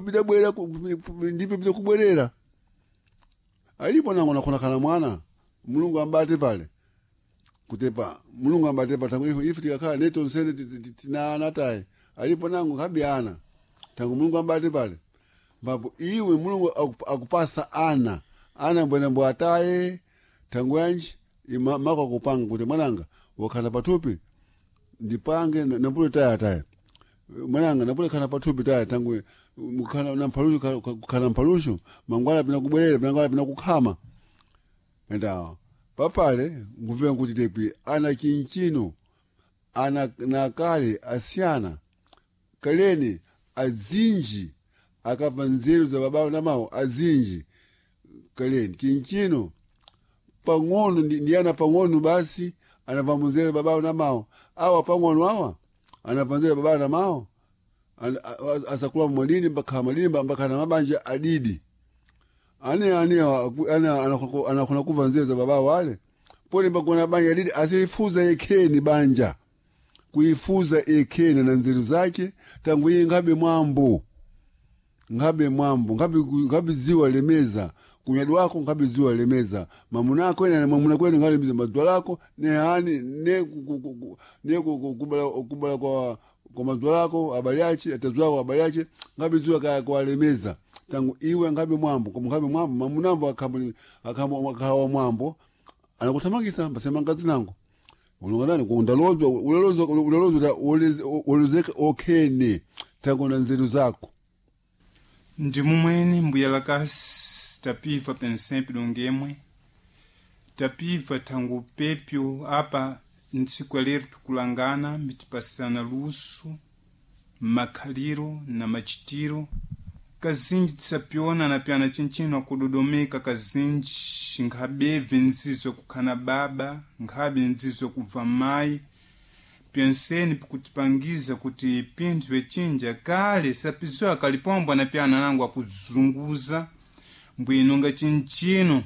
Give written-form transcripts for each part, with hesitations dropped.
Bidabwera ndipo bidakubwerera alipo nango nakhonakhala mwana Mulungu ambate pale kutepa Mulungu ambate pa tangu ife ife tikakhala neto nsene tina ana tayi alipo nango nkhabe ana tangu Mulungu ambate pale mbapo iwe Mulungu akupasa ana ana mbwena mbwe ataye tangu yanji ima mako akupanga kuti mwananga wakhala pathupi ndipange nampule taya taya mwananga napule khana pathupi taya tangu mukhana na mphalushu khana mphalushu mangwala pina kubwerera mangwala pina kukhama enda papale ngumvera nkuti tepi ana chinchino ana nakale asiyana kaleni azinji akabva nzeru za babawo na mawo azinji kaleni chinchino pang'ono ndi ana pang'ono basi anabva munzeru babawo na mawo awa pang'ono awa anabva nzeru babawo na mawo asakula mwadini mbakhala madini mbakhala mabanja adidi ane ane ane anakhona kuva nzeru za babawo wale pone mbakona banja adidi asifuza yekheni banja kuifuza yekheni na nzeru zake tangu iye nkhabe mwambo nkhabe mwambo nkhabe dziwa lemeza kunyadi wako nkhabe dziwa lemeza mamuna ako ena mamuna kwene nkhalemeza madzuwa lako ne hani ne ne kubala kubala kwa kwa madzuwa lako abali ache atadzuwa lako abali ache nkhabe dziwa kaya kwalemeza tangu iwe nkhabe mwambo koma nkhabe mwambo mamunambo akhambo akhawa mwambo anakuthamangisa mbasema mkazi nango ulonganani kundalozwa ulalozwa ulalozwa ulozeka okhene tangu na nzeru zako ndi mumwene mbuya lakasi tapiva pensempe dongemwe tapiva thangu pepyo apa ntsiku ya lero tikulangana mitipasirana luso makhaliro na machitiro kazinji tisapyona na pyana chinchino akudodomeka kazinji nkhabebve nzizo kukhana baba nkhabe nzizo kubva mayi pyenseni pikutipangiza kuti pinthu pyecinja kale sapizowa kalipombwa na pyana nangu akuzunguza mbwino nga chinchino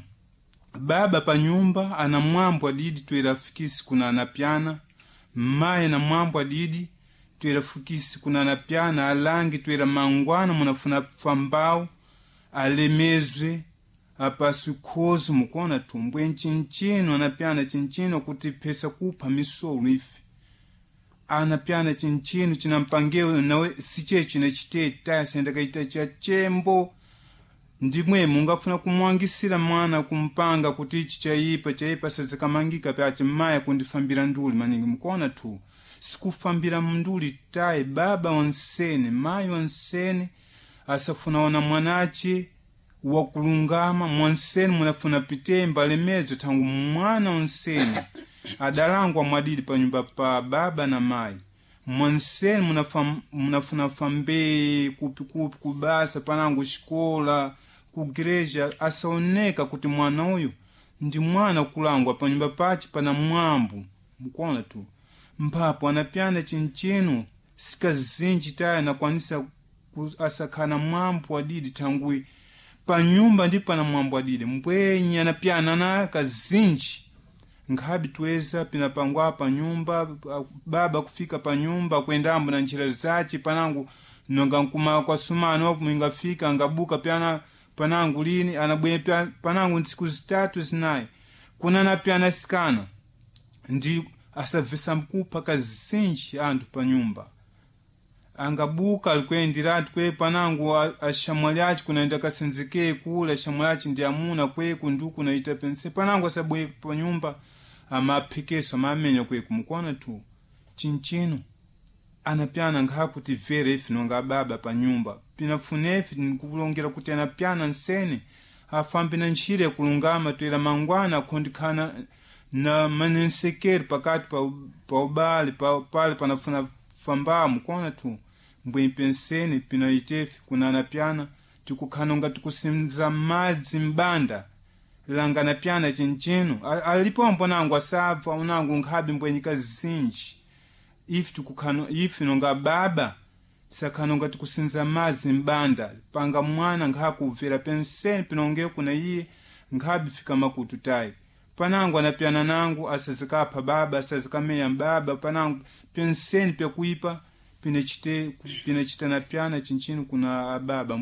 baba pa nyumba ana mwambo adidi toerafikisi kuna anapyana mayi na mwambo adidi toerafikisi kuna anapyana alangi toera mangwana munafuna fambawu alemezwe apaswi khozi mukuona thumbwe nchinchino anapyana chinchino kuti phesa kupha misolo ife anapyana chinchino chinampangewo nawe siche chinachiteta sendakaita cha chembo ndimwe mungafuna kumwangisira mwana kumpanga kuti ichi chaipa chaipa sazikamangika pyachi maya kundifambira nduli maningi mukuona tu sikufambira mnduli tayi baba wansene mayi wansene asafuna ona mwanache wakulungama mwansene munafuna pitemba alemezo thangu mwana wansene adalangwa mwadidi panyumba pa baba na mayi mwansene munafuna fambee kupikupi kubasa panangu xikola kugreja asaoneka kuti mwana uyu ndi mwana kulangwa panyumba pache pana mwambo mukuona tu mphapo anapyana chinchino sikazinji taya nakwanisa asakhala mwambo adidi thangwi panyumba ndi pana mwambo adidi mbwenyi anapyana na kazinji nkhabe tweza pinapangwa panyumba baba kufika panyumba kwendambo na njira zace panangu nonga nkuma kwa sumano wapo ingafika ngabuka pyana panangu lini anabwe panangu ntsiku zitatu zinayi kuna napyana sikana ndi asabvesa mkupha kazinji anthu panyumba angabuka alikuyendiratu kwe panangu ashamwali aci kunaenda kasenzekee kule ashamwali aci ndi amuna kweku nduku naita pense panangu asabwe panyumba amaphekeso amamenya kweku mukuona tu chinchino anapyana nkhakuti vere ife nonga baba panyumba pinafunefe nkulongera kuti anapyana nsene afambe na ntchire kulungama toera mangwana akhondikhana na manensekeri pakati pa, pa ubale pa, pale panafuna fambamu kona tu mbwe pensene pinaitefe kuna anapyana tikukhanonga tikusinza madzi mbanda langa napyana chinchino alipombo nangu asabva unangu nkhabe mbwenyika zinji ife tikukhano ife nonga baba sakhanonga tikusinza madzi mbanda panga mwana nkhakubvera pensene pinonge kuna iye nkhabe fika makutu tayi panangu anapyana nangu asazikapha baba asazikameya baba panangu penseni pyakuipa Pinachite pinachitana pyana chinchinu kuna ababa.